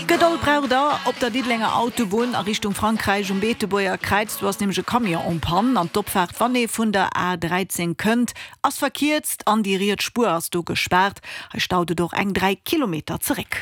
Gedold braucht der op der Diddelenger Autobunn a Richtung Frankräich um Beetebuerger Kräiz. Do ass nämlech e Camion en panne an d'Opfaart, wann ee vun der A 13 kënnt, ass verkierzt an déi riets Spuer ass do gespaart. Hei staut et och eng 3 Kilometer zeréck.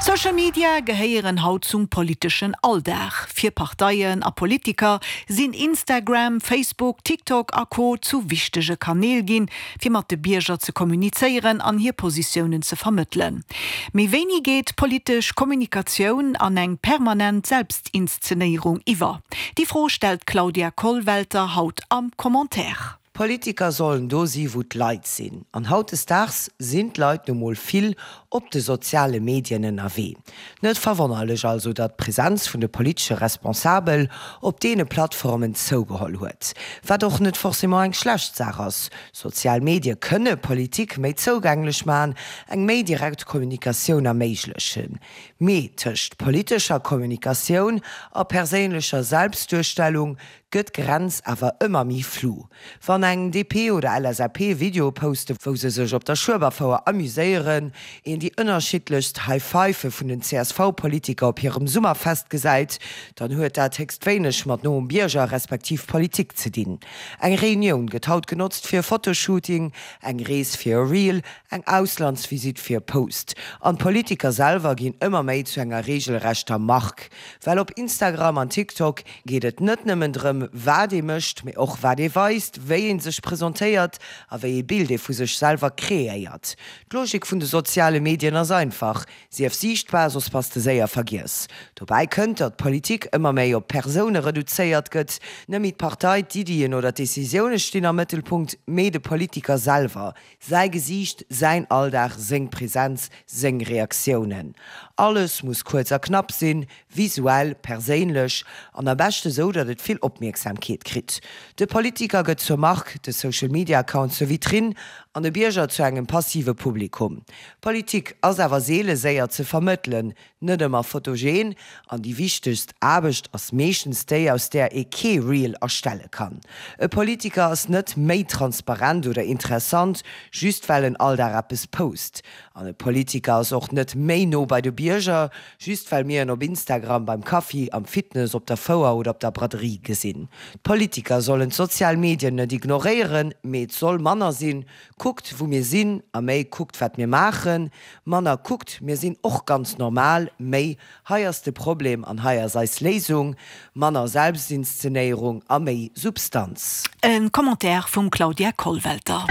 Social Media gehéieren haut zum politeschen Alldag. Fir Parteien a Politiker sinn Instagram, Facebook, TikTok a Co zu wichtege Kanäl ginn, fir mat de Bierger ze kommunizéieren an hir Positiounen ze vermëttelen. Mee wéini geet politesch Kommunikatioun an eng permanent Selbstinszenéierung iwwer? Déi Fro stellt d'Claudia Kollwelter haut am Commentaire. D'Politiker sollen do si wou d'Leit sinn. An hautdesdaags sinn d'Leit nu mol vill op de soziale Medien ënnerwee. Net verwonnerlech also, datt d'Presenz vun de politesche Responsabel op deene Plattformen zougeholl huet. Wat och net forcément eng schlecht Saach ass. Sozial Medie kënne Politik méi zougänglech maachen, eng méi direkt Kommunikatioun erméiglechen. Mee tëscht politescher Kommunikatioun a perséinlecher Selbstduerstellung gëtt d'Grenz awer ëmmer méi flu. Wann eng DP oder LSAP Videoe poste wou se sech op der Schueberfouer amuséieren, een déi ënnerschiddlechst High Five vun den CSV-Politiker op hirem Summerfest gesäit, dann huet dat héchst wéineg mat noem Bierger respektiv Politik ze dinn. Eng Reunioun gëtt haut genotzt fir e Fotoshooting, eng Rees fir e Reel, eng Auslandsvisitt fir e Post. An d'Politiker selwer ginn ëmmer méi zu enger reegelrechter Mark, well op Instagram an TikTok geet et net nëmmen drëm, wat ee mécht, mee och wat ee weist, wéi ee sech presentéiert a wéi ee Bild ee vu sech selwer kreéiert. D'Logik vun de soziale Medien ass einfach, Sief siichtbar, soss bass de séier vergiess. Dobäi kënnt, datt d'Politik ëmmer méi op d'Persoune reduzéiert gëtt. Net méi d'Partei, d'Iddien oder d'Decisioune stinn am Mëttelpunkt, mee de Politiker selwer, säi Gesiicht, säin Alldag, seng Presenz, seng Reaktiounen. Alles muss kuerz a knapp sinn, Visuell, perséinlech an am beschte sou, datt et vill Opmierksamkeet kritt. De Politiker gëtt zur Mark, de Social Media Account zur Vitrinn an de Bierger zu engem passive Publikum. Politik ass awer seele séier ze vermëttelen, net ëmmer fotogen an déi wichtegst Aarbecht ass meeschtens déi, aus där ee kee Reel erstelle kann. E Politiker ass net méi transparent oder interessant, just well en all Dag eppes post. An e Politiker ass och net méi no bei de Bierger, Just well mir en op Instagram beim Kaffi, am Fitness, op der Fouer oder op der Braderie gesinn. D'Politiker sollen d'sozial Medien net ignoréieren, mee et soll manner sinn, kuckt wou mir sinn a méi kuckt wat mir maachen. Manner kuckt mir sinn och ganz normal, méi hei ass de Problem an hei ass eis Léisung. Manner Selbstinszenéierung a méi Substanz. E Commentaire vum Claudia Kollwelter.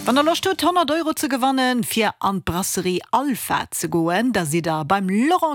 Wann der Loscht hutt 100 Euro ze gewannen fir an d'Brasserie Alpha ze goen, da sidd der beim Laurent.